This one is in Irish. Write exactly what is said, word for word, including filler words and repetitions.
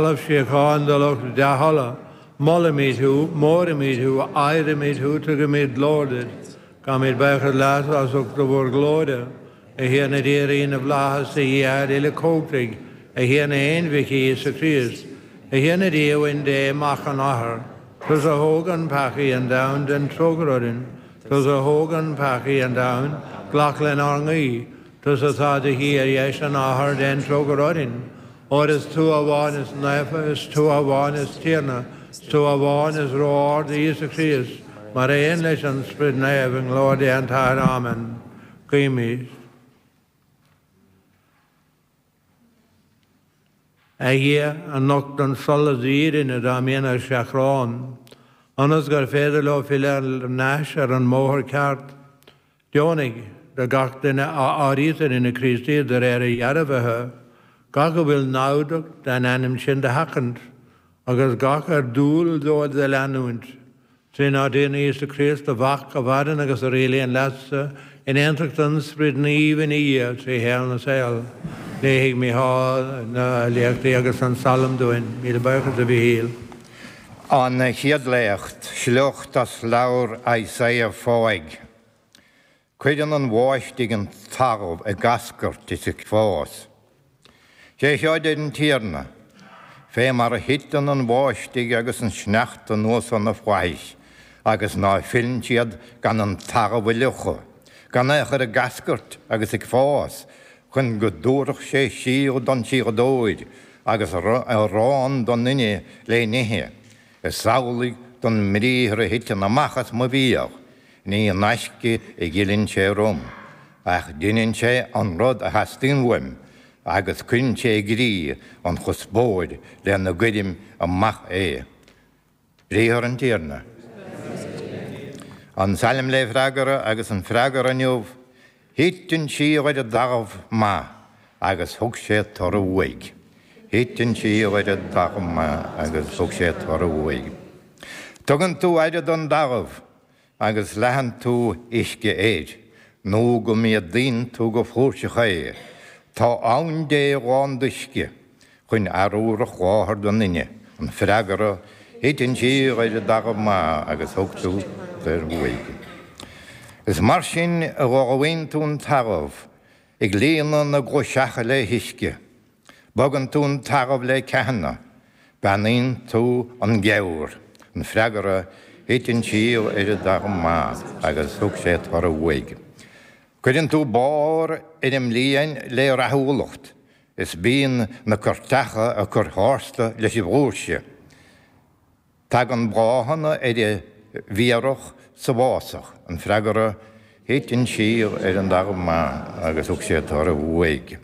Talamh síocháin do lucht dea-thola, molaimid thú, móraimid thú, adhraimid thú, tugaimid glóir duit. Gabhaimid buíochas leat as ucht do mhórghlóire, a Thiarna Dia Rí na bhFlaitheas, a Dhia uilechumhachtaigh, a Thiarna Aonmhic Íosa Críost, a Thiarna Dia Uain Dé, Mac an Athar. Tusa a thógann peacaí an domhain, déan trócaire orainn. Tusa a thógann peacaí an domhain, glac lenár nguí. Tusa atá i do shuí ar dheis an Athar, déan trócaire orainn. Óir is tú amháin is naofa, is tú amháin is Tiarna, is tú amháin is ró-ard, Íosa Críost, mar aon leis an Sprid Naomh, i nglóir Dé an tAthair. Amen. Guímid. A Dhia, a nochtann solas d'fhírinne dá mbíonn ar seachrán, ionas gur féidir leo filleadh ar ais ar an mbóthar ceart, deonaigh do gach duine a áirítear ina Chríostaí de réir a dhearbhaithe, gach a bhfuil namhdach den ainm sin do sheachaint, agus gach ar dual dóibh do leanúint, trínár dTiarna Íosa Críost, do Mhac, a mhaireann agus a rialaíonn leatsa in aontacht an Sprid Naoimh ina Dhia trí shaol na saol. Léifidh Mícheál na léachtaí agus an Salm dúinn. Míle buíochas, a Mhíchíl. An chéad léacht, sliocht as leabhar Isaiah fáidh. Cuireann an bháistigh an talamh ag eascairt is ag fás. Sé seo a deir an Tiarna, Fé mar a thiteann an bháistigh agus an sneachta anuas ó na flaithis, agus ná filleann siad gan an talamh a fhliuchadh, gan é a chur ag eascairt agus ag fás, chun go dtabharfadh sé síol don síoladóir agus arán don duine le n-ithe, is amhlaidh don mbriathar a thiteann amach as mo bhéal, ní in aisce a fhilleann sé orm, ach deineann sé an rud a theastaíonn uaim, agus cuireann sé i gcrích an chuspóir lena gcuirim amach é. Briathar an Tiarna. An Salm le freagra agus an freagra inniu, Thit an síol ar an dtalamh maith agus thug sé toradh uaidh. Thit an síol ar an dtalamh maith agus thug sé toradh uaidh. Tugann tú aire don dtalamh agus leathann tú uisce air, nó go méadaíonn tú go flúirseach é. Tá abhainn Dé lán d'uisce chun arbhar a sholáthar don fhine. An freagra, Thit an síol ar an dtalamh maith agus thug tú toradh uaidh. Is mar sin a ullmhaíonn tú an talamh, ag líonadh na gclaiseacha le huisce. Bogann tú an talamh le ceathanna, beannaíonn tú an geimhreadh. An freagra, Thit an síol ar an dtalamh maith agus thug sé toradh uaidh. Cuireann tú barr ar an mbliain le rathúlacht, is bíonn na coirteacha ag cur tharstu leis an bhflúirse. Tagann bláthanna ar an bhféarach sa bhfásach. An freagra, Thit an síol ar an dtalamh maith agus thug sé toradh uaidh.